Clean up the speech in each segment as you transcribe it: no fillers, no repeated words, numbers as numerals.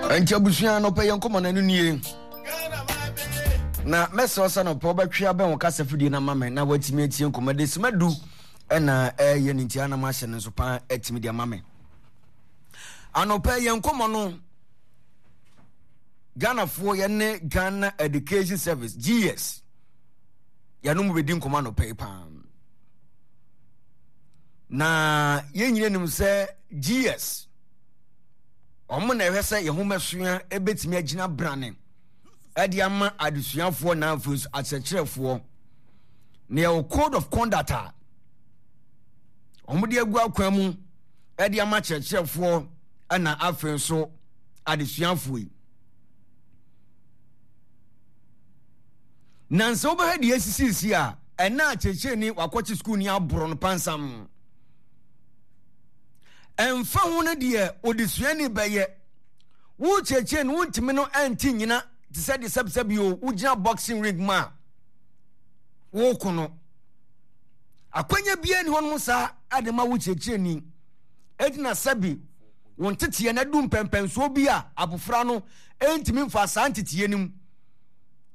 Nti abusua no pɛ yɛn nkɔmmɔ no ɛno nie. Na mɛsrɛ sɛ no pɛ wobɛtwe abɛn wo kasa fidie no ama me na woatumi atie nkɔmmɔ de sima du ɛna ɛyɛ ne nti anam ahyɛ no nso paa atumi de ama me. Anɔpɛ yɛn nkɔmmɔ no Ghanafoɔ yɛne Ghana Education Service GS yɛne mu bɛdi nkɔmmɔ anɔpɛ yi paa. Na yɛn nyina nim sɛ GS wɔn na ɛhwɛ sɛ yɛn nhomasua bɛtumi agyina brane ɛde ama adesuafoɔ na afei nso akyerɛkyerɛfoɔ na yɛwɔ code of conduct a wɔde agu akwan mu ɛde ama akyerɛkyerɛfoɔ ɛna afei nso adesuafoɔ yi na nsɛ wobɛhwɛ deɛ asisisi a ɛna akyerɛkyerɛni wakɔkye sukuuni aborɔ no pansam. Ɛmfa ho no deɛ odesuani bɛyɛ, wo kyerɛkyerɛ no wontumi no ɛnte nyina te sɛ deɛ sɛbsɛbi o wogyina boxing ring mu a woko no. Akwanya biara ni hɔnom saa ɛde ma wo kyerɛkyerɛni. Eti na sɛbi wo nteteɛ no adu mpɛmpɛnsoɔ bi a abofra no ɛntumi mfa saa nteteɛ no mu.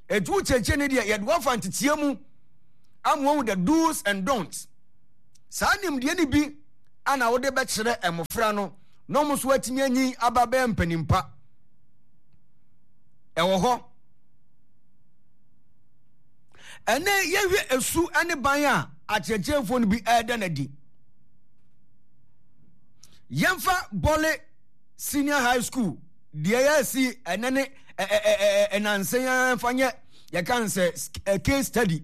Eti wo kyerɛkyerɛni deɛ yɛde wafa nteteɛ mu ama wahu the do's and don'ts. Saa nimdeɛ no bi na wode bɛkyerɛ mmofra no na wɔn nso atumi anyin aba bɛyɛ mpanin pa. Ɛwɔ hɔ. Ɛnɛ yɛhwɛ esu ne ban a akyerɛkyerɛfoɔ no bi ɛreda no adi. Yɛmfa Bɔle Senior High School deɛ yɛasi ɛnɛ ne ɛnansɛn ara mfa nyɛ yɛka no sɛ case study.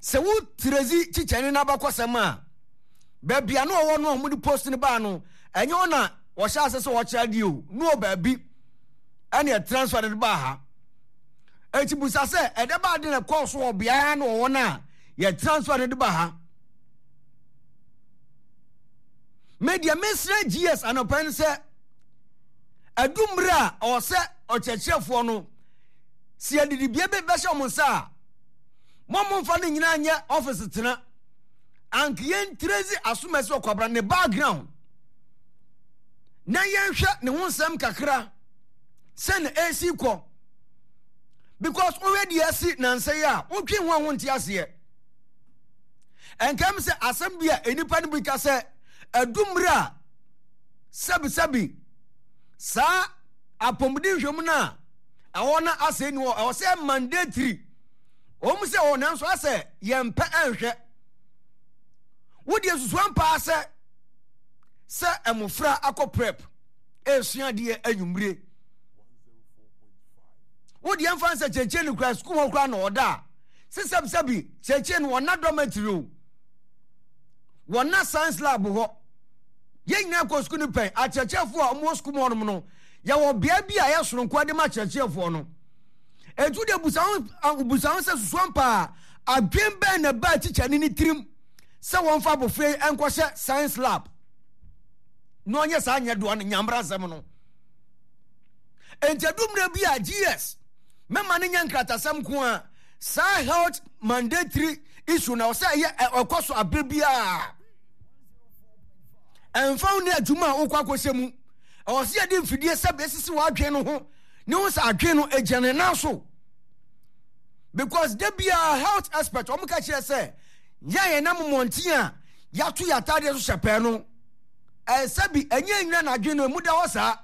Sɛ wo Terezi kyikyɛne no abakɔsɛm a, baabi a na ɔwɔ no a wɔde post no baa no, ɛnyɛ hɔ na wɔhyɛ ase sɛ wɔkyerɛ adeɛ o, na wɔ baabi ɛne transfer no de baa ha. Eti busa sɛ ɛdɛ baa de na ɛkɔɔ so wɔ beaeɛ na wɔwɔ no a yɛ transfer no de ba ha. Me deɛ mesrɛ GS anɔpa no sɛ ɛdu mmerɛ a ɔwɔ sɛ ɔkyerɛkyerɛfoɔ no sɛ yɛde dibea bi bɛhyɛ wɔn nsa a, mo momfa no nyinaa nyɛ ɔfisi tena. Anka yɛntirezi asomasi ɔkwabra ne background na yɛnhwɛ ne ho nsɛm kakra sɛ na ɛsi kɔ because wohwɛ deɛ asi nansa yi a wotwe ho a wonte aseɛ. Ɛnkɛm sɛ asɛm bi a nnipa no bi ka sɛ adu mmerɛ a sɛbisɛbi saa apɔmuden nhwɛmu no a ɛhɔ na asɛ ni hɔ ɛwɔ sɛ mandatory wɔn sɛ ɔ nanso asɛ yɛn pɛ ɛnhwɛ wodeɛ susu ampaa sɛ sɛ mmofra akɔ prep ɛresua adeɛ anwummere wodeɛ mfa nsɛ kyerɛkyerɛ no kura sukuu hɔ kura na ɔda a sesɛbsɛbi kyerɛkyerɛ no wɔna dormitory o wɔna science lab hɔ yɛn nyinaa kɔ sukuu no pɛn akyerɛkyerɛfoɔ a wɔwɔ sukuu mu hɔnom no Yɛwɔ bea bi a ɛyɛ soronko de ma akyerɛkyerɛfoɔ no. Enti wode busa ho busa ho sɛ susuam paa adwen bɛn na ɛbaa tikyani ne tirim sɛ wɔmfa abɔfra yi nkɔhyɛ science lab na ɔnyɛ saa nyɛ doa no nyambra nsɛm no. Enti adu mmerɛ bi a GS mɛma no nyɛ nkratasɛm nko a saa health mandatory issue na ɔsɛ ɛyɛ ɛkɔ so abere biara. Ɛmfa wo ne adwuma a wokɔ akɔhyɛ mu. Ɛwɔ sɛ yɛde mfidie sɛ bɛsisi w'adwene no ho ne ho sɛ adwene no gyina ne nan so. Because da biara health expert wɔn ka kyerɛ sɛ yɛn yɛn nam mmɔnten a yɛato yɛn ataadeɛ so hyɛ pɛɛ no ɛsɛ bi ɛnyɛ nyina n'adwene no emu da hɔ saa.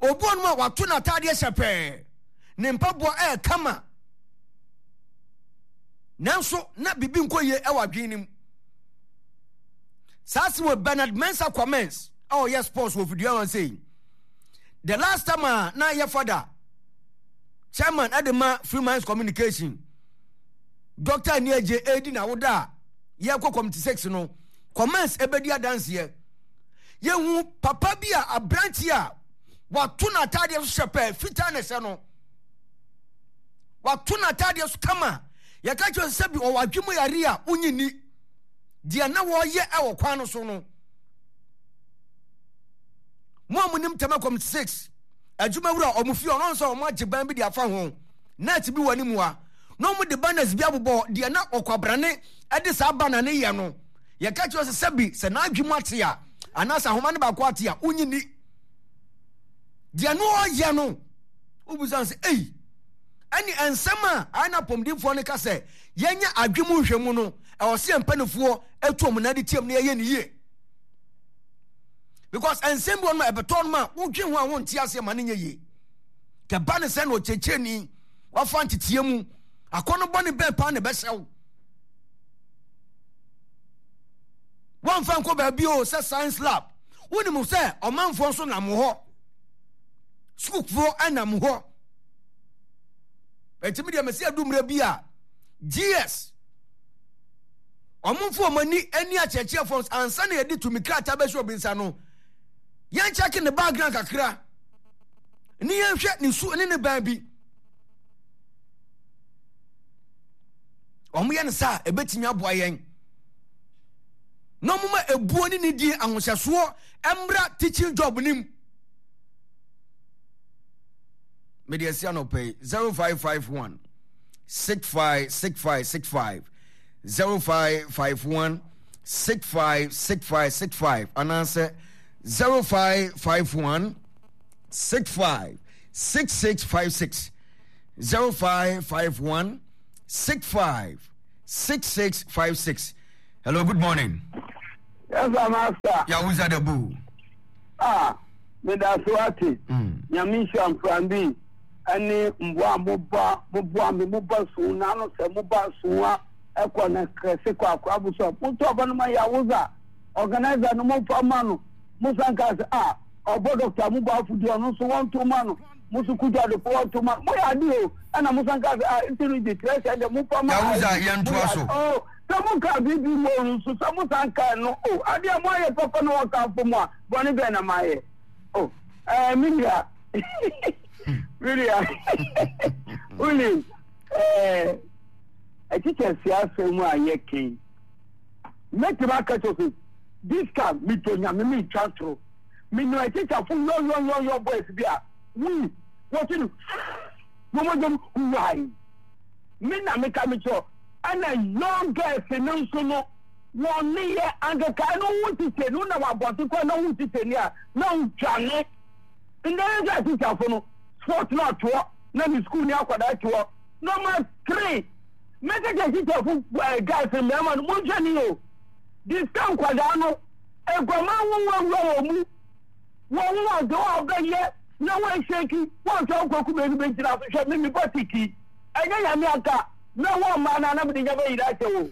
Obi wɔn a wato n'ataadeɛ hyɛ pɛɛ ne mpaboa ɛyɛ kama nanso na biribi nkɔ yie ɛwɔ adwene no mu. Saa asɛm wɔ Bernard Mensah Kwamens a ɔyɛ sports wɔ fidua hɔ sei. The last time a na yɛ fada chairman ɛde ma Free Minds Communication Dr. Aniagye edi na woda a yɛkɔ committee 6 no Kwamens ebedi adanseɛ. Yɛhu papa bi a aberante a wato n'ataadeɛ so hyɛ pɛɛ fitaa na ɛhyɛ no. Wato n'ataadeɛ so kama. Yɛka kyerɛ sɛ bi ɔwɔ adwene mu yare a wonyi ni. Deɛ na wɔreyɛ wɔ kwan no so no, mo a monim Tema Committee 6 adwumawura a wɔn fie ɔno nso wɔn agye ban bi de afa ho net bi wɔ anim a na wɔn de banners bi abobɔ deɛ na ɔkwabrane de saa banner no yɛ no yɛka kyerɛ sɛ sɛbi sɛ n'adwe mu ate a anaasɛ ahoma no baako ate a wonyi ni. Deɛ no ɔyɛ no, wobisa no sɛ, ei, ɛne nsɛm a ayɛ na apɔmudinfoɔ no ka sɛ yɛnyɛ adwe mu nhwɛmu no, ɛwɔ sɛ yɛn mpanimfoɔ atu wɔn nan de tiam na yɛyɛ ne yie. Because nsɛm bi wɔ no ma ɛbɛtɔ no ma wodwe ho a wonte aseɛ ma no nyɛ yie. Kɛba ne sɛ na ɔkyerɛkyerɛni wafa nteteɛ mu akɔnnɔ bɔne bɛn paa na ɛbɛhyɛ wo? Wɔmfa nkɔ baabi o sɛ science lab. Wonim sɛ ɔmanfoɔ nso nam hɔ. Sukuufoɔ nam hɔ. Ɛtumi deɛ mɛsi adu mmerɛ bi a GS wɔn mfo wɔn ani ani akyerɛkyerɛfoɔ ansa na yɛde tumi krataa bɛhyɛ obi nsa no yɛn kyɛke ne background kakra ne yɛnhwɛ ne su ne ne ban bi. Wɔyɛ no saa a, ɛbɛtumi aboa yɛn na wɔma ebuo ne nidie ahohyɛsoɔ mmra teaching job no mu. Mede asi anɔpa yi 0551 656565 0551 656565 anaasɛ 0551 656656 0551 65 6656 hello good morning yes sir master yahuza the bull ah meda so ate mm. nyame nhyira mframbi ɛne mboa a moba moboa me moba so n'ano sɛ moba so a ɛkɔ na kɛse kɔ akora bo so a motɔ ɔba no ma yahuza organizer no momfa ma no mosan ka sɛ ah ɔbɔ dɔkta mo bɔ afodi ɔno nso wɔnto ma no mo so kudwo adefo wɔnto ma no moyɛ ade o ɛna mo san ka sɛ ah nti no gye kyerɛ sɛ deɛ momfa ma Yahuza yɛntoa so. Oh sɛ mo ka biribi mu o nso sɛ mo san ka no o adeɛ mo ayɛ papa na wɔka afo mo a bɔne bɛn na mayɛ o ɛɛ me nua me nua wonim ɛɛ ɛkyekyɛ si asɛm a yɛkɛn mɛtumi aka kyerɛ sɛ this time metɔ nyame mentwa toro Menim akyitafo yɔyɔyɔyɔ boys bi a wii wɔte no na wɔn dwom huwae. Me na meka me kyerɛ ɛna young girls no nso no wɔn ne yɛ ankekae no wo tete no na wabɔnte kɔ na wo tete ni a na wodwane. Ndɛ yɛ sɛ akyitafo no sport no atoɔ na ne school ni akwadaa toɔ number 3 mɛkɛkyɛ akyitafo eh, guys mmarima no monhwɛ ni o disika nkwadaa no Aguaman nwonwa wura wɔn mu. Wɔn ho ade a ɔbɛyɛ na wɔahyɛki wɔn sɛ ɔkɔ kuma no bɛgyina so hwɛ me mebɔ tiki ɛnyɛ nyame anka na wɔn mmaa no anam de nya bɛyira akyɛ wo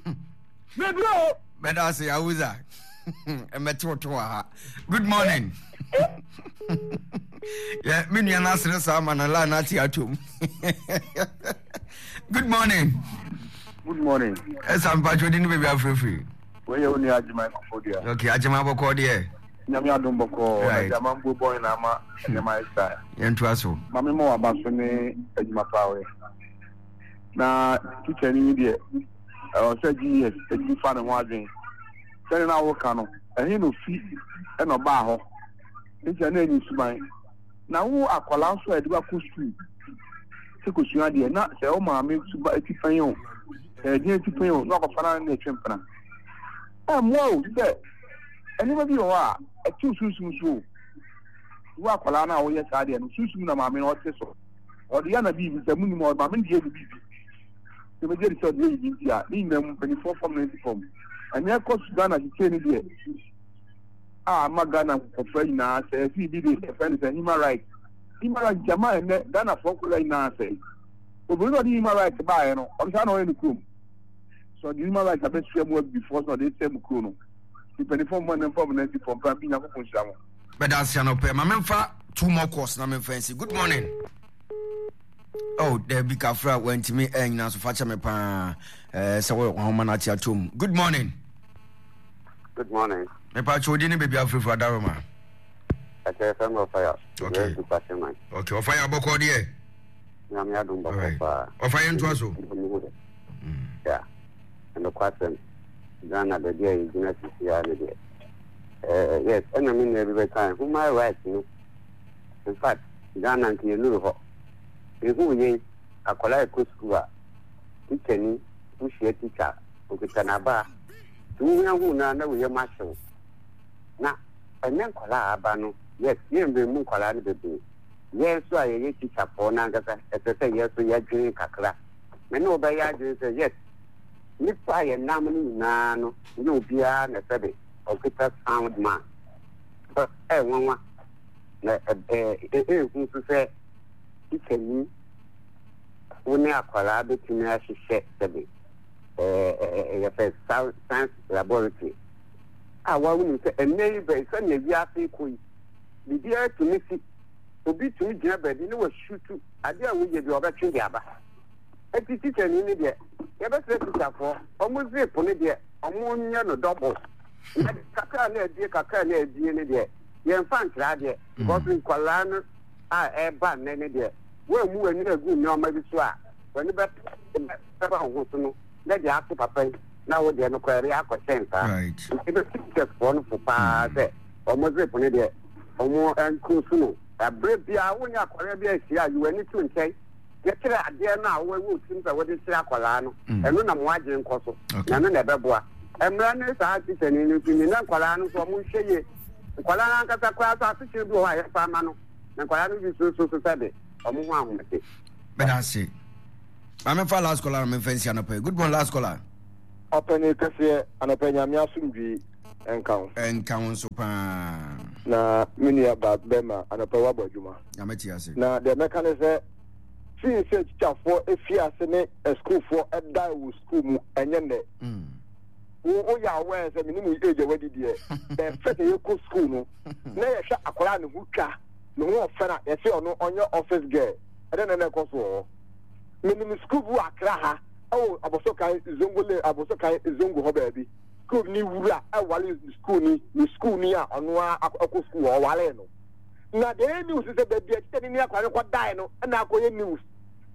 bebire o. Mɛda ase Awuza mɛte wo to wɔ ha. Good morning. Yeah, me nua no asere saa ma no la no ate atom. Good morning. Good morning. Ɛsa mpatwo di ne baabi afirafiri. Wei yɛ wo nua Agyeman Koforidua. Okay, Agyeman bɔkɔɔ deɛ. Nyame adom bɔkɔɔ. Right. Na Agyeman mbuo bɔn na ama nneɛma ayɛ saa. Yɛntoa so. Ma me ma waba so ne adwuma paa ɔyɛ. Na teacher ni deɛ ɛwɔ sɛ GES ɛtumi fa ne ho adwene. Sɛdeɛ na woka no, ɛhe na ofi ɛna ɔbaa hɔ. Nti na ɛnyɛ suban. Na wo akwadaa nso a yɛde wakɔ sukuu sɛ kɔsua adeɛ na sɛ wo maame suba ti pɛn o sɛ ɛdeɛn ti pɛn o na wakɔfa no ne ɛtwe mpena ɛmmoa o sɛ nneɛma bi wɔ hɔ a ɛtew sunsum so o wo akwadaa no a woyɛ saa deɛ no sunsum na maame no ɔte so ɔde yɛ na biribi sɛ munim ɔde maame no deɛ yɛ biribi sɛ bɛgye de sɛ ɔde yɛ biribi nti a ne nyinaa mu mpanimfoɔ fam na ɛsi fam ɛnyɛ kɔ so Ghana kyekyee no deɛ a ama Ghana nkɔfra nyinaa sɛ ɛsi bi de ɛfɛ no sɛ human rights human rights gyama ɛnɛ Ghana foɔ nkɔla nyinaa sɛ obìnrin na ɔde human rights baeɛ no ɔno saa na ɔyɛ no kurom sɛ ɔde human rights abɛsua mu abibifoɔ sɛ ɔde sɛ mu kuro no mpanimfoɔ mu ɛnɛ mfa mu nansi fam pra bi Nyankopɔn nhyira mo. Bɛda ase anɔpɛ ma memfa two more calls na memfa nsi good morning oh dabi kafra wantumi ɛnyina so fa kyɛ me paa eh, sɛ wɔhoma no ate atom good morning Good morning. Mepa kyɛ odi ne baabi afurafura adaroma. Ɛkyɛ fɛn mi ɔfaya. Okay. Okay ɔfaya bɔkɔ deɛ. Nyame adum bɔkɔ paa. Ɔfaya ntoa so. Ya. Ɛnokwa asɛm. Ghana baabi a yɛgyina sisi a ne deɛ. Eh, yes, ɛna me nua bi bɛka human rights no. In fact, Ghana nka yɛnuru hɔ. Ehu yɛn akwadaa ɛkɔ sukuu a, tikya ni, wohyia tikya, okita n'abaa. Nti wohia hu no a na wo yam ahye wo. Na ɛnɛ nkwadaa a aba no, yes, yɛn mmerɛ mu nkwadaa no bebree. Yɛn nso a yɛyɛ tikyafoɔ no ankasa, ɛsɛ sɛ yɛn nso yɛdwene kakra. Me ne wo bɛyɛ adwene sɛ, yes, nnipa a yɛnam no nyinaa no, nyɛ obiara na sɛbe ɔkita sound man. But ɛyɛ nwanwa na ɛyɛ hu nso sɛ tikyani wo ne akwadaa bɛtumi ahyehyɛ sɛbe yɛfɛ science laboratory a wonim sɛ ɛnnɛ yi bɛ sɛnea wiase kɔ yi biribiara tumi si. Obi tumi gyina baabi na wasutu adeɛ a woyɛ bi a ɔbɛtwe de aba. Eti tikyani no deɛ, yɛbɛsrɛ tikyafoɔ, wɔn zip no deɛ, wɔnyɛ no double. Na kakra na abie kakra na abie no deɛ, yɛmfa nkyerɛ adeɛ. Because nkwadaa no a ɛreba nnɛ no deɛ, woammu w'ani agu nneɛma bi so a, w'ani bɛba wo ho so no, na deɛ ato papa yi, na wo deɛ no koraa ɛbɛyɛ akɔhyɛn saa. Nti bɛtu teachersfoɔ no fo paa sɛ, wɔn zip no deɛ, wɔn nkurusu no. Ɛberɛ biara wo ne akwadaa bi ahyia a, yi w'ani to nkyɛn na kyerɛ adeɛ no a wowɔ wo tirim sɛ wode kyerɛ akwadaa no. Ɛno na mo adwene nkɔ so, na ɛno na ɛbɛboa. Mmara ne saa tikyani no nso ni, na nkwadaa no nso wɔnhwɛ yie. Nkwadaa no ankasa koraa nso asekyerɛ bi wɔ hɔ a yɛfa ama no, na nkwadaa no bi nso so sɛ de wɔn ho ahomete. Meda ase. Maame fa last caller na memfa nsi anɔpa yi. Good morning last caller. Ɔpɛni kɛseɛ anɔpa Nyame asomdwee nka wo. Nka wo nso paa. Na me nua ba bɛma anɔpa wabɔ adwuma. Nyame te ase. Na deɛ mɛka ne sɛ fii sɛ tikyafoɔ efi ase ne asukuufoɔ ɛdae wɔ sukuu mu ɛnyɛ nnɛ. Mm. Wo woyɛ aware sɛ menim wo age a wadi deɛ bɛfɛ sɛ yɛkɔ sukuu no na yɛhwɛ akwadaa ne ho twa ne ho ɔfɛ na yɛsɛ ɔno ɔnyɛ office girl ɛdɛ na na ɛkɔ so wɔ hɔ. Menim sukuu bi wɔ Accra ha ɛwɔ Abosokan Zongo lane Abosokan Zongo hɔ baabi. Sukuu ni wura ɛwale sukuu ni ne sukuu ni a ɔno ara akɔ sukuu hɔ ɔwale no. Na deɛ ɛyɛ news sɛ baabi a kyikyɛni ne akwadaa no kɔdae no ɛna akɔyɛ news.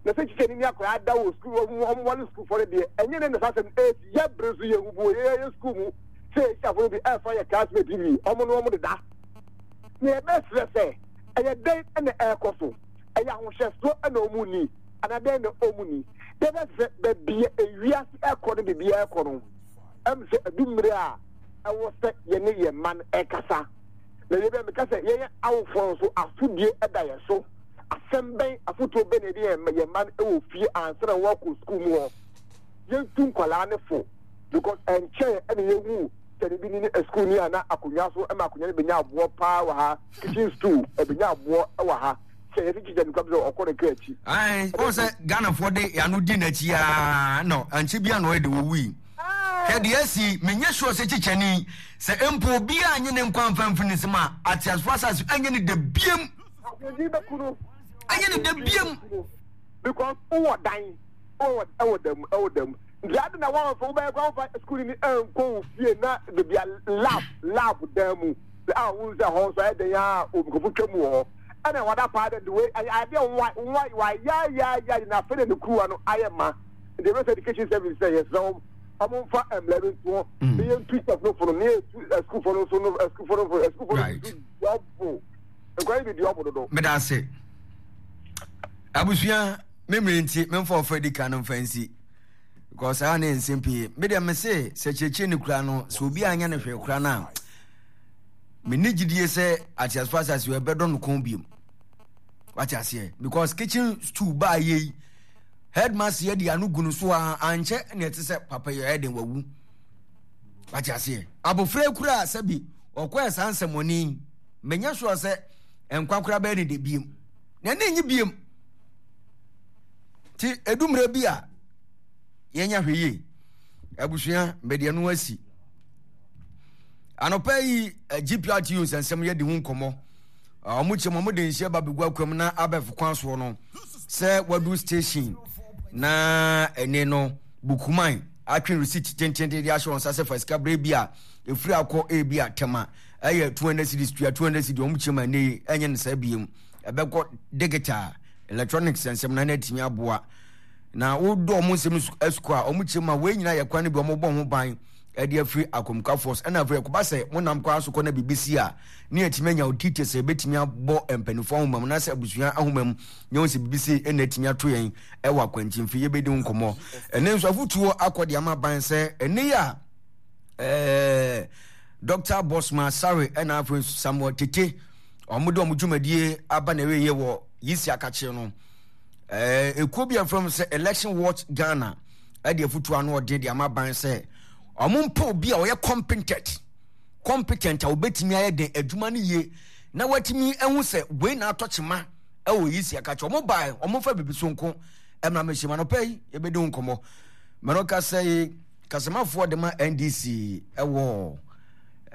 Na sɛ kyikyɛni ne akwadaa da wɔ sukuu wɔn wɔn wale sukuufoɔ no deɛ ɛnyɛ ne na saa asɛm no ɛsi yɛ bere so yɛ hu bi wɔ yɛ yɛ sukuu mu sɛ yɛ no bi ɛfa yɛ classmate bi wɔn no wɔn deda. Na yɛbɛsrɛ sɛ ɛyɛ dɛn ɛna ɛrekɔ so ɛyɛ ahohyɛsoɔ ɛna wɔn ni anaa dɛn na wɔn ni. Yɛbɛsrɛ baabi a ewiase ɛkɔ no biribiara ɛkɔ no ɛm sɛ ɛdu mmerɛ a ɛwɔ sɛ yɛne yɛn mma no ɛkasa. Na yɛ bɛ meka sɛ yɛn awofoɔ nso asodie da yɛn so. Asɛm bɛn, afotuo bɛn na yɛde yɛn yɛn mma no wɔ fie ansa na wɔakɔ sukuu mu hɔ. Yɛntu nkwadaa no fo because ɛnkyɛn ɛna yɛhu sɛ ne bi ne sukuu ni a na akonnwa so ɛma akonnwa no bɛnya aboɔ paa wɔ ha, kitchen stool ɛbɛnya aboɔ wɔ ha. Sɛ yɛsi kyikyɛ no kura sɛ ɔkɔ ne kra akyi. Ayi, wɔn sɛ Ghanafoɔ de yɛn di n'akyi aa na ankyɛ bi ano ɛde wɔwui. Hwɛ deɛ asi, menyɛ sure sɛ kyikyɛni, sɛ mpo obiara anye ne nkwa amfa amfiri ne nsam a, ateasefoɔ asase ɛnyɛ ne dɛ biem. Ɛnyɛ ne dɛ biem. Because wowɔ dan, wowɔ ɛwɔ dam, ɛwɔ dam. Nti adi na wɔn fɛ wobɛyɛ kora wofa sukuu ni ɛnkɔ wo fie na beebi a lab lab dan mu a wɔn sɛ hɔ nso ayɛ dan a nkurɔfo twam wɔ hɔ. Ɛna wada paa dɛ de wei adeɛ wa wa wa ya ya ya na afei na ne kuruwa no ayɛ ma. Nti yɛbɛsɛ education service sɛ yɛsrɛ wɔn wɔn mfa mmara bi nto hɔ na yɛntu staff no fo no na yɛtu asukuufoɔ no nso no asukuufoɔ no fo asukuufoɔ no nso dɔbo nkwa yi bi di ɔbo dodo. Meda ase. Abusua me mmiri nti memfa ɔfa di kan no mfa nsi because saa ne nsɛm pii me deɛ me se sɛ kyerɛkyerɛ ne kura no sɛ obi anyɛ no hwee kura no a menni gyidie sɛ ateasefo asase ɛbɛdɔ no kɔn biom wate aseɛ because kitchen stool baa yei Headmaster yɛ de ano gu no so a ankyɛ na ɛte sɛ papa yi ɛyɛ den wawu. Wate aseɛ? Abofra yi kura sɛbi ɔkɔɛ saa nsɛmɔne yi menyɛ sure sɛ nkwa kora bɛyɛ ne de biem. Na ɛne nye biem. Ti edu mmerɛ bi a yɛnya hwɛ yie. Abusua mede ɛno asi. Anɔpa yi eh, GPRTU nsɛnsɛm yɛdi ho nkɔmmɔ. Ah, wɔn kyɛm wɔn de nhyia ba bɛgu akwam na abɛfo kwan soɔ no sɛ wadu station na ɛne no bukuman atwe receipt tententen de ahyɛ wɔn nsa sɛ fa sika berɛ bi a ɛfiri akɔ ebi a tɛma ɛyɛ 200 cedis tua 200 cedis wɔn kyɛm a ɛne yi ɛnyɛ no saa biem ɛbɛkɔ digital electronics nsɛm na ɛna aboa na wodɔ wɔn nsɛm sukuu a wɔn kyɛm a wɔn nyinaa yɛ kwan no bi wɔn bɔ ho ban ɛde afiri akɔmkafoɔ so ɛna afei ɛkɔba sɛ mo nam kwan so kɔ na biribi si a ne yɛatumi anya wo details a yɛbɛtumi abɔ mpanimfoɔ ahoma mu anaasɛ abusua ahoma mu na yɛhu sɛ biribi sei ɛna atumi ato yɛn ɛwɔ akwankyimfi yɛbɛdi ho nkɔmmɔ ɛne nso afotuo akɔ de ama ban sɛ ɛne yɛ a ɛɛ Dr. Bosma Sare ɛna afei nso Samuel Tete. Wɔn de wɔn dwumadie aba na ɛwieɛ wɔ Yisi Akakye no. Ɛɛ ekuo bi a wɔfrɛ no sɛ Election Watch Ghana ɛde afutuo ano ɔden de ama ban sɛ wɔn mpɛ obi a ɔyɛ competent competent a obetumi ayɛ den adwuma no yie na watumi ahu sɛ wei na atɔ kyema ɛwɔ Yisi Akakye. Wɔn bae wɔn mfa bibi so nko ɛmra mɛhyɛ mu anɔpɛ yi yɛbɛdi ho nkɔmmɔ. Mɛno kasa yi kasamafoɔ de ma NDC ɛwɔ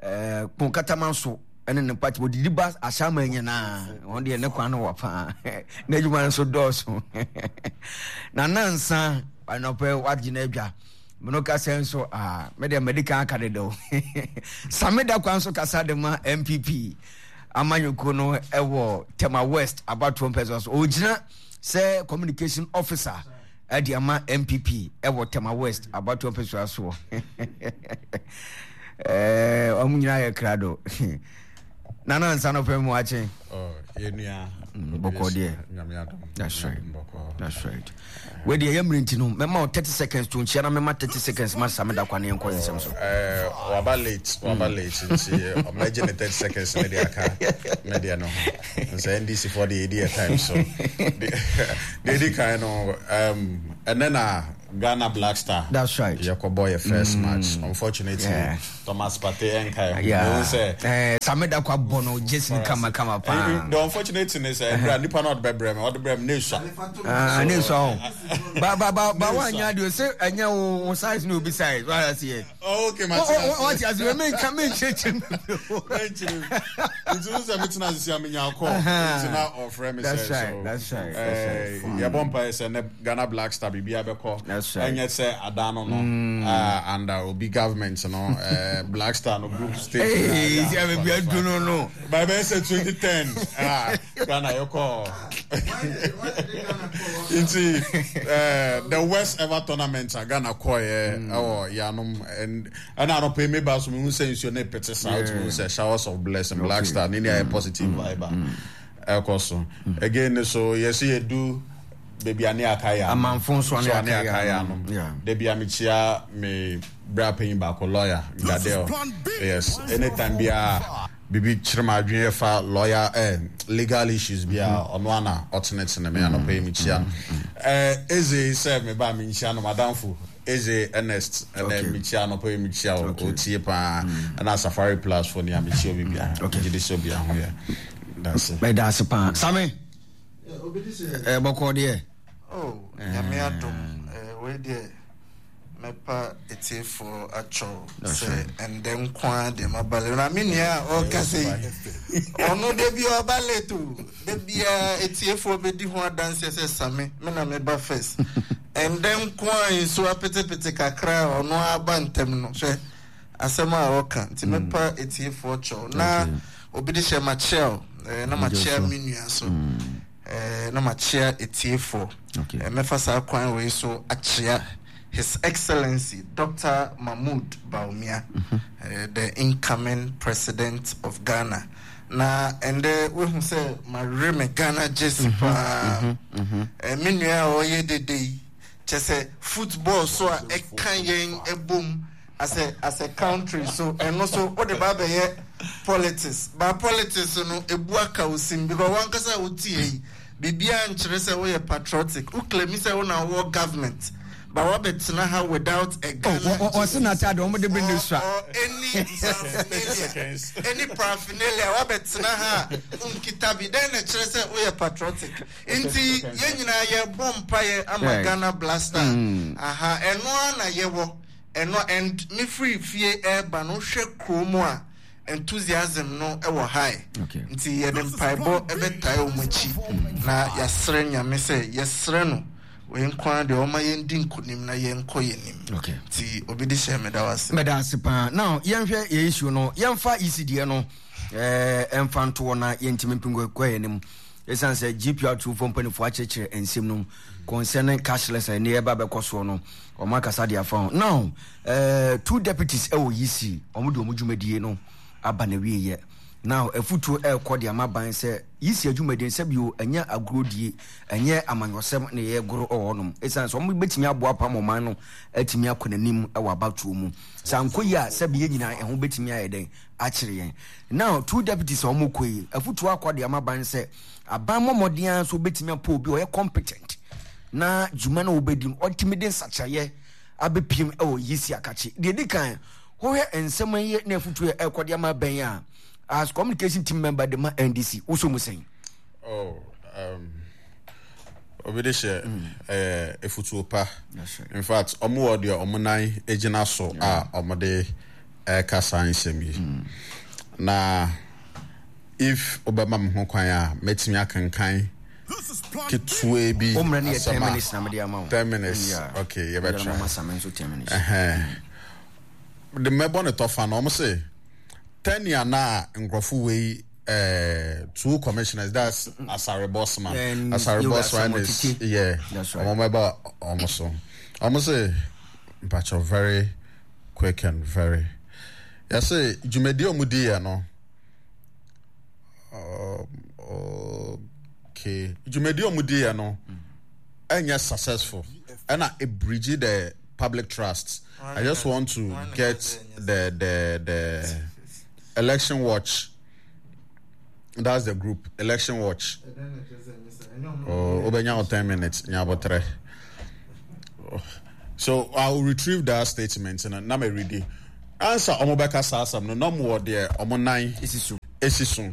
ɛɛ Kponkataman so. ɛne ne party wɔdidi ba ahyɛnma nyinaa wɔn deɛ ne kwan no wɔ paa n'adwuma no nso dɔɔso na nansa anɔpɛ wagye no adwa mene kasa nso aa me deɛ madi kan aka dedaw same da kwan so kasa de ma npp amanyɔkuo no ɛwɔ tema west abatoɔ mpɛ so ɔgyina sɛ communication officer ɛde ama npp ɛwɔ tema west abatoɔ mpɛsoa soɔ ɛɛ wɔn nyinaa yɛ krado nana nsa no pɛ mu akye. yɛnua bɔkɔ deɛ that's right that's right wei deɛ yɛ mmiri nti no mɛma wo 30 seconds to nkyia na mɛma 30 seconds ma same da kwa ne yɛnkɔ nsɛm so. Waba late waba late nti ɔmɛgye ne 30 seconds ne de aka ne deɛ no ho. Sɛ NDC foɔ deɛ yɛdi yɛ time so. Deɛ ɛdi kan no ɛnɛ na Ghana Black Star. That's right. Yɛkɔbɔ yɛ first match. Unfortunately, yeah. Thomas Partey ɛnka ɛho. Yeah. Sɛ eh, Same Dakwa bɔ no jersey no kama kama paa. The unfortunate thing is ɛbrɛ nipa na ɔde bɛbrɛ mi ɔde brɛ mi ne esua. Ah, ne esua o. Ba ba ba ba wa nya deɛ sɛ ɛnyɛ wo size ne obi size wa aseɛ. Oh, okay, ma ti ase. Wati ase, me nka me nkyerɛkyerɛ mu. Me nkyerɛ mu. Nti wo sɛ me tena ase sia me nya kɔ. Nti na ɔfrɛ me sɛ so. That's right. That's right. Eh, yɛbɔ mpa sɛ ne Ghana Black Star biribi abɛkɔ. That's right. Ɛnyɛ sɛ adan no no. Under obi government no, eh, Black Star no group stage. Hey, si abe bi adu no no. By bɛyɛ sɛ 2010. Ah, Ghana yɛkɔ. Nti eh, the worst ever tournament a Ghana kɔɛ ɛwɔ yanom ɛna anɔpɛ yi meba so mehu sɛ nsuo no pete saa wotumi hu sɛ showers of blessing Black Star ne ne ayɛ positive vibe a ɛkɔ so again ne so yɛsɛ yɛdu baabi a ne aka yɛ anom amanfo nso so a ne aka yɛ anom da bi a mekyia me bra panyin baako lawyer Gadel yes anytime biara Biribi kyere m'adwene ɛfa lawyer eh, legal issues bi a ɔno ara na ɔtenetene me anɔpa yi mekyia no. Eh, Eze sɛ me ba menkyia no madamfo Eze Ernest ɛnɛ mekyia anɔpa yi mekyia o ɔtie paa ɛna Safari Plus fo nea mekyia obi biara megye di sɛ obiara ho yɛ dase. Meda ase paa. Same, eh, bɔkɔɔ deɛ. Oh, Nyame adom, eh, wei deɛ mɛpa atiefoɔ akyɛw sɛ ɛndɛ nko ara deɛ maba late. Na me nua a ɔrekasa yi, ɔno da biara ɔba late o. Da biara atiefoɔ bɛdi ho adanseɛ sɛ Same, me na meba first. Ɛndɛ nko ara nsuo apetepete kakra a ɔno aba ntɛm no, hwɛ asɛm a ɔka. Nti mɛpa atiefoɔ kyɛw. Na obi de hyɛ makyia o, eh, na makyia me nua so. Eh, na makyea atiefoɔ. Okay. Eh, mɛfa saa kwan wei so akyea His Excellency Dr. Mahmoud Bawumia, mm -hmm. eh, the incoming president of Ghana. Na ɛndɛ wohu sɛ mawerɛ me Ghana jersey mm -hmm, paa. Mm -hmm, mm -hmm. Eh, me nua a ɔyɛ dede yi, kyɛ sɛ football so a ɛka yɛn ɛbom as a as a country so ɛno so wode ba abɛyɛ politics ba politics no ebu aka wo sim because wankasa a wotie yi biribiara nkyerɛ sɛ woyɛ patriotic wo claim sɛ wo na wowɔ government ba wabɛtena ha without a Ghana oh, ɔse n'ataade wɔn de bi ne sua or any paraphernalia any paraphernalia wabɛtena ha a wonkita bi dɛn na ɛkyerɛ sɛ woyɛ patriotic nti yɛn nyinaa yɛbɔ mpaeɛ ama Ghana Blaster mm. aha ɛno ara na yɛwɔ Ɛno and me firi fie ɛɛba no wohwɛ kuro mu a enthusiasm no wɔ high nti yɛde mpaebɔ bɛtae wɔn akyi na yɛasrɛ Nyame sɛ yɛsrɛ no wei nko ara deɛ ɔma yɛndi nkonim na yɛnkɔ yɛn anim nti obi de hyɛ meda wo ase. Meda ase paa. Now yɛnhwɛ yɛ issue no yɛmfa isi deɛ no ɛmfa ntoɔ na yɛntumi mpingo kɔ yɛn anim. Ɛsiane sɛ GPR tufoɔ mpanimfoɔ akyerɛkyerɛ nsɛm no mu concerning cashless a ɛne ɛba bɛkɔ soɔ no wɔn akasa de afa ho. Now, two deputies ɛwɔ EC, wɔn de wɔn dwumadie no aba na wieɛ. Now afutuo ɛrekɔ de ama ban sɛ yisi adwumadie no sɛbi o ɛnyɛ agorɔdie ɛnyɛ amanyɔsɛm na yɛregoro wɔ hɔnom ɛsiane sɛ wɔn bɛtumi aboa apam ɔman no atumi akɔ n'anim wɔ abatoɔ mu sɛ ankɔ yi a sɛbi yɛn nyinaa ɛho bɛtumi ayɛ dɛn akyere yɛn. Now two deputies a wɔn kɔ yi afutuo akɔ de ama ban sɛ aban mmɔ mmɔden ara nso bɛtumi apɔ obi a ɔyɛ competent na dwuma no a wɔbɛdi no ɔtumi de nsakyeraeɛ abɛpiem wɔ yisi akakye. Deɛ ɛdi kan wohwɛ nsɛm yi ne afutuo a ɛrekɔ de ama bɛn a as communication team member de ma NDC wosɔ mu sɛn? Oh, um, obi de hyɛ ɛyɛ efutuo pa. In fact, ɔmo wɔ deɛ ɔmo nan gyina so a ɔmo de ɛreka saa nsɛm yi. Na if wobɛma me ho kwan a, mɛtumi akenkan ketewa bi asɛm a 10 minutes. Okay, yɛbɛtra. De mɛbɔ ne tɔfa no, ɔmo se tɛnea na nkurɔfo wei eh, two commissioners that's Asare Bossman. Asare Bossman is yeah. Ɔmo mɛba ɔmo so. Ɔmo se mpakyɛw very quick and very. Yɛse dwumadi a ɔmo di yɛ no. Okay, dwumadi a ɔmo di yɛ no ɛnyɛ successful ɛna ebirigye the public trust. I just want to get the the the election watch. That's the group, Election Watch. Oh, obenya 10 minutes. Nyabotre. So I will retrieve that statement and na me read it. Answer omo bɛka saa asɛm no na ɔmo wɔ deɛ ɔmo nan esi so.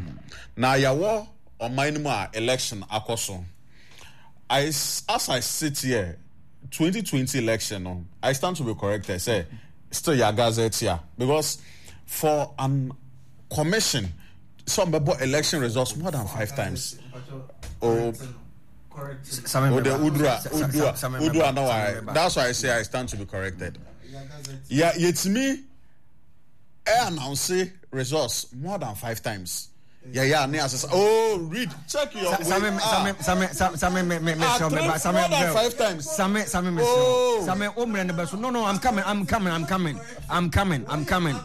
Na yɛwɔ ɔman no mu a election akɔ so. I as I sit here 2020 election no I stand to be corrected sɛ still yɛ gazette a because for an commission sɛ ɔmo bɛbɔ election results more than five times. Oh, Oh, the Udra, Udra, Udra. No, I. That's why I say I stand to be corrected. Yeah, it's me. I announce results more than five times. Yeah, yeah. Ne asesa. Oh, read, check your. Same, same, same, same, me, me, me, ah, three, same, more than five times. Same, same, me, oh. same. Oh, me, no, no, I'm coming, I'm coming, I'm coming, I'm coming, I'm coming,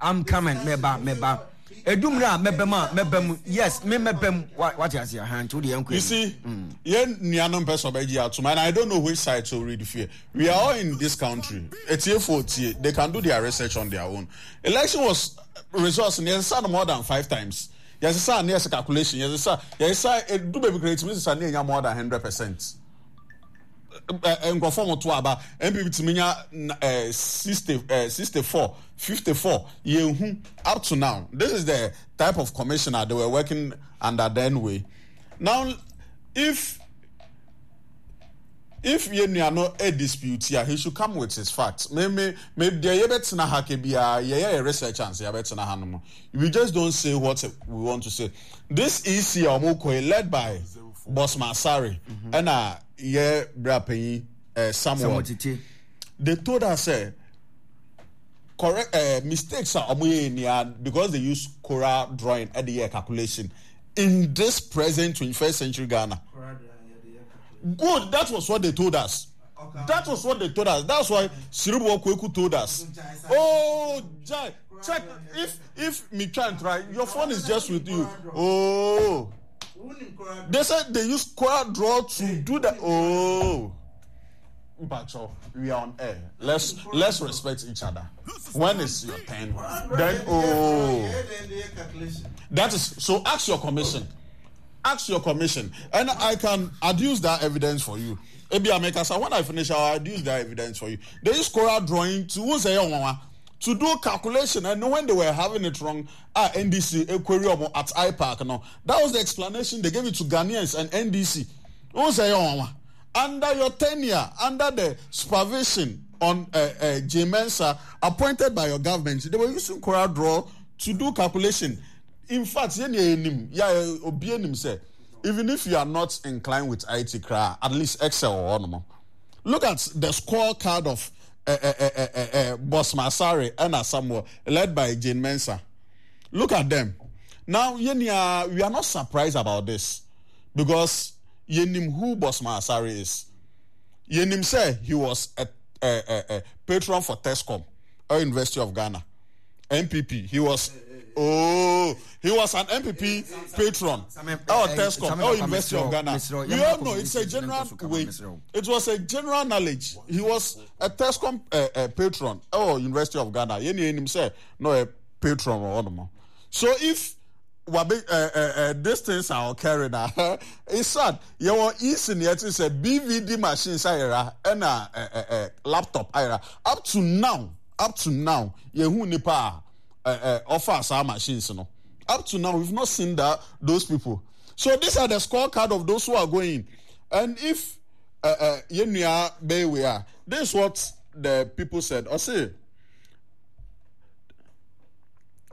I'm coming. Me ba, me ba. Edumire a mɛbɛ mu a mɛbɛ mu yes me mɛbɛ mu wate ase aha nti wode yɛn You see, yɛn nuanom pɛ sɛ ɔbɛgye atom and I don't know which side to read fear. We are all in this country. Etiefo tie, they can do their research on their own. Election was results no yɛsesa no more than five times. Yɛsesa ne yɛsɛ calculation, yɛsesa yɛsesa edu baabi koraa yɛtumi sesa ne yɛnya more than 100%. Nkurɔfoɔ mo to aba NPP tumi nya 60 64 54 yɛnhu up to now this is the type of commissioner they were working under then way now if if yɛn nua no e dispute a he should come with his facts me me me deɛ yɛbɛtena ha ke biara yɛyɛ yɛ research ansa yɛbɛtena ha no mo we just don't say what we want to say this EC a wɔn kɔ yi led by Bosman Asare ɛna yɛ bra panyin eh, Samuel they told us sɛ correct eh, mistakes a wɔn yɛ nia because they use coral drawing ɛde yɛ calculation in this present 21st century Ghana. Good, that was what they told us. That was what they told us. That's why Siribo Kweku told us. Oh, Jai, check if if me try and try, your phone is just with you. Oh. They said they use Quora draw to do that. Oh. Bacho, we are on air. Let's let's respect each other. When is your turn? Then oh, that is so. Ask your commission. Ask your commission, and I can adduce that evidence for you. Ebi Amekasa, when I finish, I'll adduce that evidence for you. They use Quora drawing to say to do calculation, and when they were having it wrong, ah, NDC query at IPAC. No, that was the explanation they gave it to Ghanaians and NDC. Who say under your tenure, under the supervision on uh, uh, J. Mensah, appointed by your government, they were using Quora draw to do calculation. In fact, yeah, say, even if you are not inclined with IT cra, at least Excel or no. Look at the scorecard of uh, uh, uh, uh, uh, Boss Masari and Samuel, led by Jane Mensah. Look at them. Now, we are not surprised about this because yenim who Bosman Asare is. Yenim say he was a, a, a, a patron for TESCOM, or University of Ghana, NPP. He was. Oh, he was an NPP patron. Oh, TESCOM, oh, University of Ghana. We all know it's a general way. It was a general knowledge. He was a TESCOM patron. Oh, University of Ghana. Yɛn ni sɛ no a patron or no. So if wabe these things are occurring ah it's sad. Yɛwɔ EC ni ɛte sɛ BVD machines ayera ɛna laptop ayera up to now up to now yɛhu nipa a ɔfa saa machines no up to now we've not seen that those people. So these are the scorecard of those who are going. And if yɛn nua bɛyɛ wei a, this is what the people said. Ɔse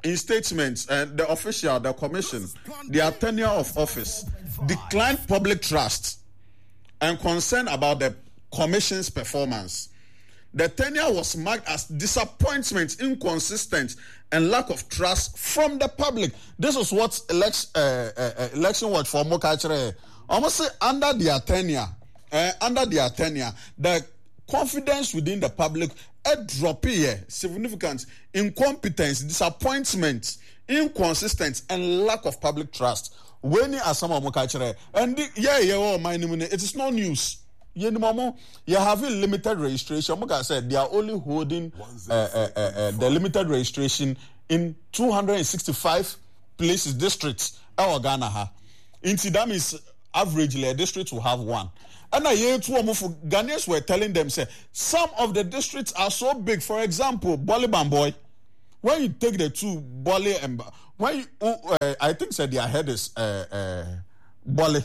in statements, the official, the commission, their tenure of office declined public trust and concern about the commission's performance. The tenure was marked as disappointment, inconsistent, and lack of trust from the public. This is what election, election watch for Mokachere. Almost say under their tenure, under their tenure, the confidence within the public a drop here, significant incompetence, disappointment, inconsistent, and lack of public trust. When asɛm a wɔka kyerɛ and yeah yeah oh my name it is not news. Yɛnim ɔmo yɛ having limited registration ɔmo ka sɛ they are only holding the limited registration in 265 places districts ɛwɔ Ghana ha nti that means averagely a district will have one ɛna yɛtu ɔmo fo Ghanaians were telling them sɛ some of the districts are so big for example Bole Bamboi when you take the two Bole and when you, I think said their head is Bole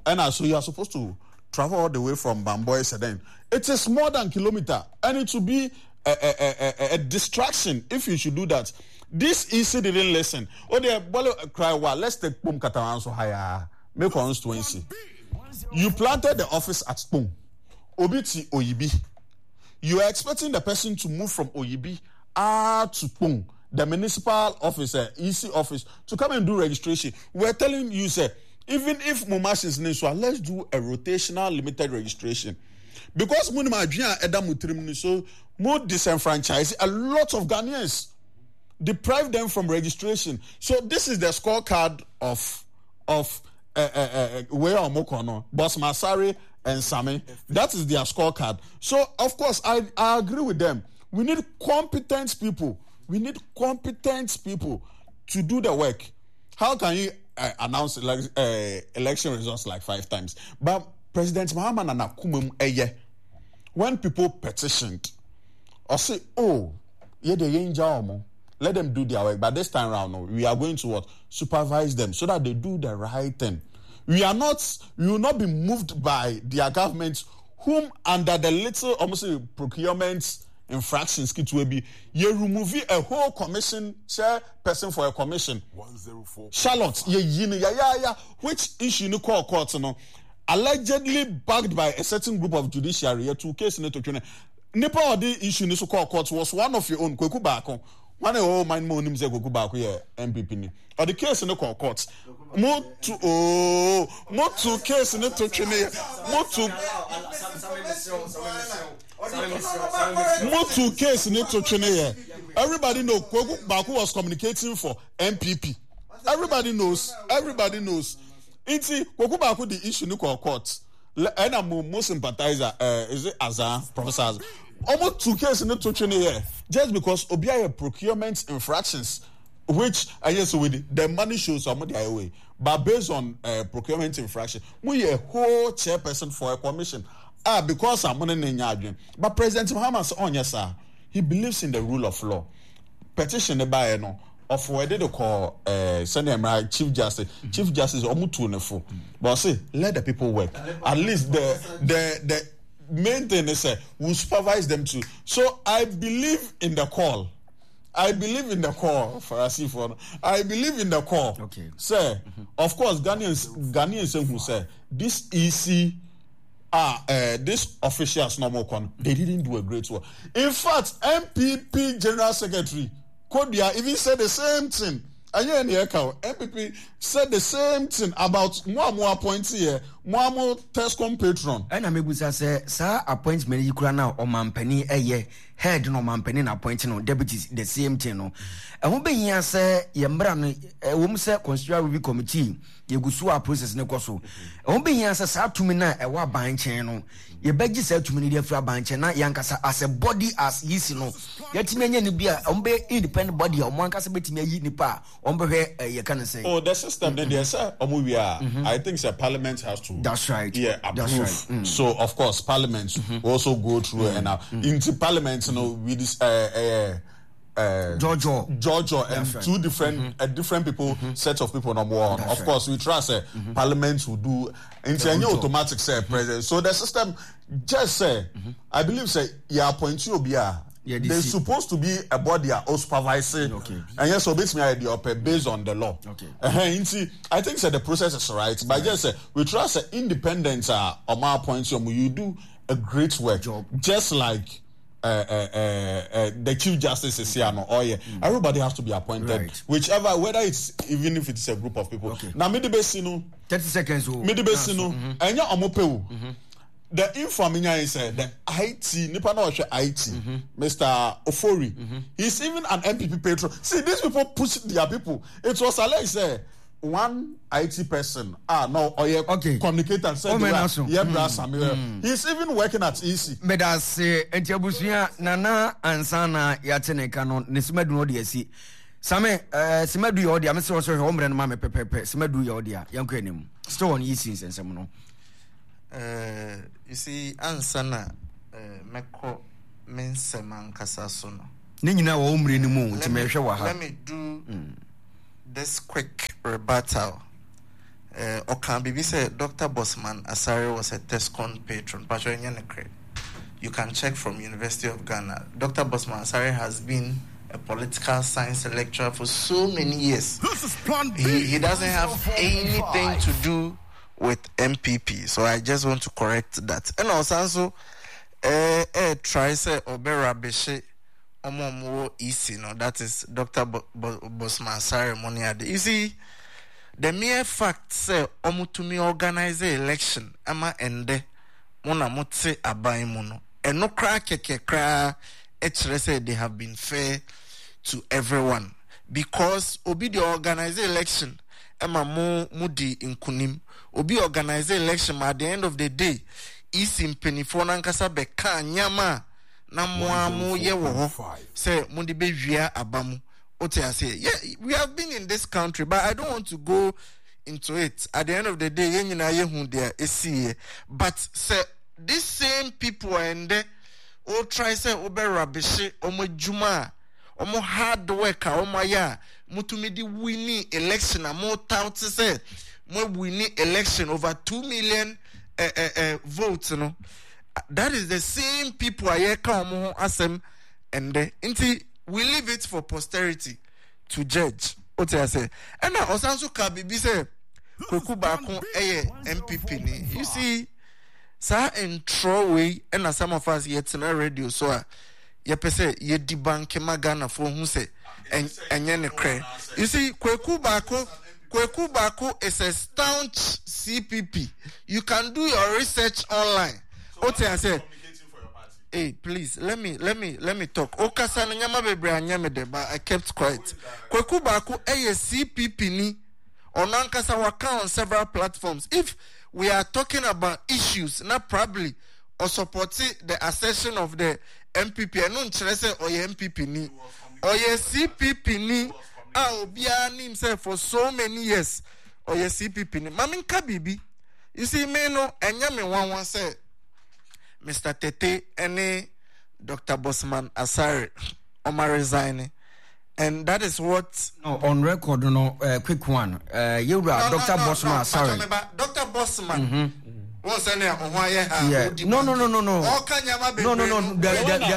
ɛna so you are supposed to travel all the way from Bamboi Sedan. It is more than kilometer, and it will be a, a, a, a distraction if you should do that. This EC didn't listen. Oh, they Bole cry, well, let's take Kpone Katamanso higher. Make constituency. You planted the office at Kpone. Obi ti Oyibi. You are expecting the person to move from Oyibi to Kpone, the municipal office, EC office, to come and do registration. We're telling you, sir, even if mo machines ne nso a, let's do a rotational limited registration. Because mo nim adwene a ɛda mo tirim no so, mo disenfranchise a lot of Ghanaians, deprive them from registration. So this is the scorecard of of where ɔmo kɔ no, Boss Masari and Sami. That is their scorecard. So of course I, I agree with them. We need competent people. We need competent people to do the work. How can you announce election results like 5 times? But President Mahama na n'akoma mu ɛyɛ. When people petitioned, ɔse, oh, yeah, they ain't ɔmo. Let them do their work. But this time round, no, we are going to what? Supervise them so that they do the right thing. We are not, we will not be moved by their government, whom under the little almost procurement infractions ketewa bi, yɛ remove a whole commission chairperson for a commission. Charlotte, yɛ yi no yayaaya, which issue no kɔɔ court no, allegedly backed by a certain group of judiciary, yɛ tuu case no to twene. Nipa a ɔde issue no so kɔɔ court was one of your own, Kweku Baako. Hwan na ɛwɔ ɔman no mu a onim sɛ Kweku Baako yɛ NPP ni? Ɔde case no kɔɔ court. Mo tu ooo, mo tu case no to twene, mo tu. Mo tu case no to twene yɛ. Everybody know Kweku Baako was communicating for NPP. Everybody knows, everybody knows. Nti Kweku Baako de issue no kɔɔ court. Ɛna mo mo sympathizer eh, is it Azan, Professor Azan? Ɔmo tu case no to twene yɛ just because obi ayɛ procurement infractions which ɛyɛ sɛ wedi the money shows ɔmo de ayɛ wei but based on procurement infraction mo yɛ whole chairperson for a commission ah because a mo ne ne nya adwene but President Mahama sɛ ɔnyɛ saa he believes in the rule of law petition ne baeɛ no ɔfo ɛde de kɔ ɛɛ sɛnea mmara chief justice chief justice ɔmo tu ne fo but ɔse let the people work at least the the the main thing is sɛ we supervise them too so I believe in the call. I believe in the call, Farasifoɔ no. I believe in the call. Okay. Sɛ, of course, Ghanaians, Ghanaians ehu sɛ this EC, ah, this officials na ɔmo kɔ no, they didn't do a great work. In fact, NPP General Secretary Kodua even said the same thing. Ɛnyɛ ɛna ɛka o. NPP said the same thing about mo a mo appoint yɛ. Mo a mo Tescon patron. Ɛna mebisa sɛ saa appointment yi koraa no a ɔmanpanin ɛyɛ head no ɔmanpanin na appoint no deputy the same thing no ɛho bɛhia sɛ yɛ mmra no ɛwom sɛ constitutional review committee yɛgu so a process no kɔ so ɛho bɛhia sɛ saa tumi no a ɛwɔ aban nkyɛn no yɛbɛgye saa tumi no de afiri aban nkyɛn na yɛankasa as a body as yisi no yɛatumi anya no bi a wɔn bɛyɛ independent body a wɔn ankasa bɛtumi ayi nipa a wɔn bɛhwɛ eh, yɛka no sɛ. Oh, the system ne deɛ sɛ wɔn wie a mm-hmm. I think sɛ parliament has to. That's right. Yeah, approve. That's right. So of course parliament mm-hmm. also go through mm-hmm. and nti parliament no we this Jojo. Jojo and right. two different different people, set of people number one. That's of right. course, we trust parliament will do. Nti ɛnyɛ automatic sɛ president. So the system just sɛ I believe sɛ yɛ appoint obi a there's supposed to be a body a o supervise. Ɛnyɛ sɛ obetumi ayɛ deɛ ɔpɛ based on the law. Ɛhɛn nti I think sɛ the process is right but just sɛ we trust sɛ independent a ɔmo appoint ɔmo you do a great work Job. Just like. The chief justice is here no ɔyɛ everybody has to be appointed right. Whichever whether it's even if it's a group of people okay. Na mede bɛsi no 30 seconds o mede bɛsi no ɛnyɛ ɔmo pɛ o the info mi nya yi sɛ the IT nipa na ɔhwɛ IT Mr. Ofori he's even an NPP patron. See, these people push their people. It was alleged sɛ one IT person ah no ɔyɛ communicator sɛ de wa yɛ bra sami he's even working at EC. Medase nti abusua nana ansa na yɛate ne ka no ne simadu no ɔde asi same eh, simadu yɛ ɔde a mesrɛ sɛ hwɛ wo mmerɛ no ma me pɛpɛpɛ simadu yɛ ɔde a yɛnkɔ anim still on EC nsɛnsɛm no. You see, ansa na mɛkɔ me nsɛm ankasa so no. Ne nyinaa wɔ wo mmerɛ no mu nti mehwɛ wɔ ha. Let me do this quick rebuttal. Ɔkaa biribi sɛ Doctor Bosman Asare was a Tescon patron. Pacho ɛnyɛ nokorɛ. You can check from University of Ghana. Doctor Bosman Asare has been a political science lecturer for so many years. This is Plan B. He doesn't have anything to do with NPP. So I just want to correct that. And also, try sɛ ɔbɛ rubbishe ɔmo a ɔmo wɔ EC no, that is Doctor Bosman Asare mo ne ade. You see, the mere fact sɛ ɔmo tumi organize election ama ɛndɛ mo na mo te aban mu no, ɛno koraa kɛkɛ koraa ɛkyerɛ sɛ they have been fair to everyone, because obi de organize election ɛma mo mo di nkunim, obi organize election ma at the end of the day EC mpanimfoɔ no ankasa bɛka nneɛma a na mo ara moyɛ wɔ hɔ sɛ mode bɛwia aba mu. Wote aseɛ? Yeah, we have been in this country, but I don't want to go into it. At the end of the day, yɛn nyinaa yɛhu deɛ ɛsiiɛ. But sɛ this same people a ɛndɛ wo try sɛ wobɛ rubbishe wɔn adwuma a wɔn hard work a wɔn ayɛ a motumi de winni election a mo tout sɛ mo winni election over 2 million votes no, that is the same people a yɛka wɔn ho asɛm ɛndɛ. Nti we leave it for posterity to judge. O te ase? Ɛna ɔsan so ka biribi sɛ Kwaku Baako ɛyɛ NPP ni. You see, saa ntorɔ wei ɛna some of us yɛtena radio so a yɛpɛ sɛ yɛdi banke ma Ghanafoɔ hu sɛ ɛnyɛ ne korɛ. You see, Kwaku Baako is a staunch CPP. You can do your research online. O te ase? Hey, please let me talk. Okasa no nyama bebree anyɛ me de, but I kept quiet. Kwaku Baako ɛyɛ CPP ni. Ɔno ankasa waka on several platforms. If we are talking about issues, na probably or support the assertion of the NPP. Ɛno nkyerɛ sɛ ɔyɛ NPP ni. Ɔyɛ CPP ni a obiara nim sɛ for so many years ɔyɛ CPP ni. Maame nka biribi. You see, me no ɛnyɛ me nwanwa sɛ Mr. Tete ɛne Dr. Bosman Asare ɔma resign, and that is what. No, on record no, quick one. Yewura No, Dr. no, Bosman no, Asare. Pacho, Dr. Bosman. Wọ́n sẹ́ ni ọ̀hún ayé ha. Yeah. No. Ọ̀ka nyama bebree. No.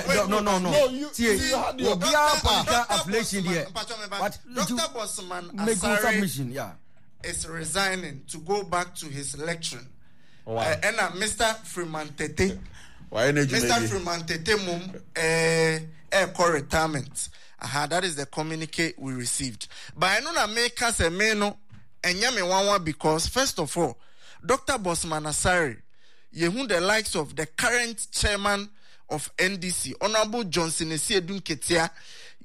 Wait, No. No, you- Tie. you had your- Obiara political Dr. affiliation Bosman, there. Pacho, meba. What? Dr. Bosman Make good Asare submission, yeah. is resigning to go back to his lecturing. Wow. Ɛna Mr. Freeman Tete. Why energy? Mr. Freeman Tete mum ɛkɔ retirement. Aha, that is the communique we received. But ɛno na meka sɛ me no Ɛnyɛ me nwanwa because first of all, Doctor Bossman Asare, yɛhu the likes of the current chairman of NDC, Honourable Johnson Asiedu Nketia,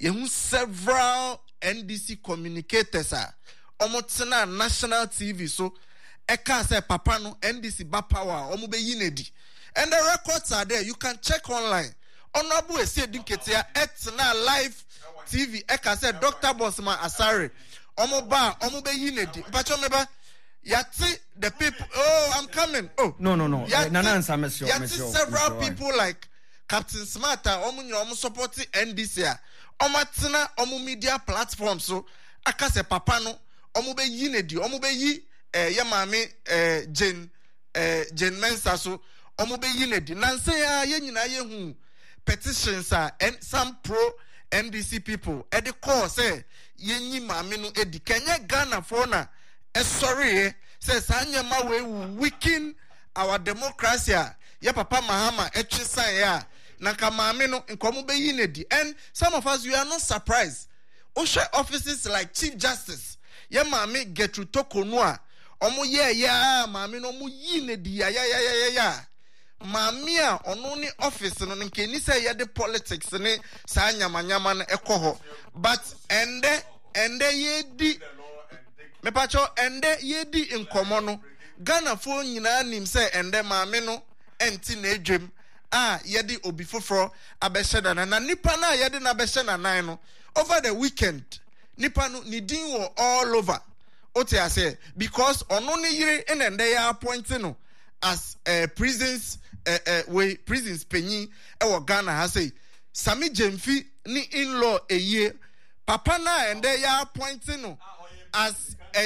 yɛhu several NDC communicators a wɔtenaa national TV so ɛkaa sɛ papa no NDC ba power a wɔbɛyi no adi. And the records are there, you can check online. Honourable Asiedu Nketia ɛtenaa live TV ɛka sɛ Doctor Bossman Asare wɔn ba a wɔn bɛyi no adi. Mpakyɛw meba, yɛate the people, oh I'm coming, oh. No, no, no. Yɛate, Nana Nsa, mesrɛ, yɛate mesrɛ, several mesrɛ, people like Captain Smart a wɔn nyinaa wɔn support NDC a wɔn atena wɔn media platform so aka sɛ papa no wɔn bɛyi no adi, wɔn bɛyi eh, yɛ maame eh, Jane eh, Jane Mensah so wɔn bɛyi no adi. Nansa yi ara yɛn nyinaa yɛhu petitions a N some pro NDC people ɛde kɔɔ sɛ yɛnyi maame no adi. Kɛnyɛ Ghanafoɔ na ɛsɔreeɛ sɛ saa nneɛma wei will weaken our democracy a yɛ papa Mahama ɛtwe saeɛ a na nka maame no nka wɔn bɛyi no adi. And some of us we are not surprised. Wohwɛ offices like Chief Justice yɛ maame Gertrude Torkornoo a wɔn yɛɛyɛ a maame no wɔn yii no adi yayayayaya a maame a ɔno ne office no no nka ɛni sɛ yɛde politics ne saa nyamanyama no ɛkɔ hɔ but ɛndɛ ɛndɛ yɛdi mepakyɛw ɛndɛ yɛdi nkɔmɔ no Ghanafoɔ nyinaa nim sɛ ɛndɛ maame no ɛnte n'adwam a yɛde obi foforɔ abɛhyɛ n'anan na nipa no a yɛde no abɛhyɛ n'anan no over the weekend nipa no ne din wɔ all over wote aseɛ because ɔno ne yere na ɛndɛ yɛ appoint no as eh, prisons eh, eh, wei prisons panyin ɛwɔ Ghana ha sei Sami Gyamfi ne in-law eyie papa no a ɛndɛ yɛ appoint no as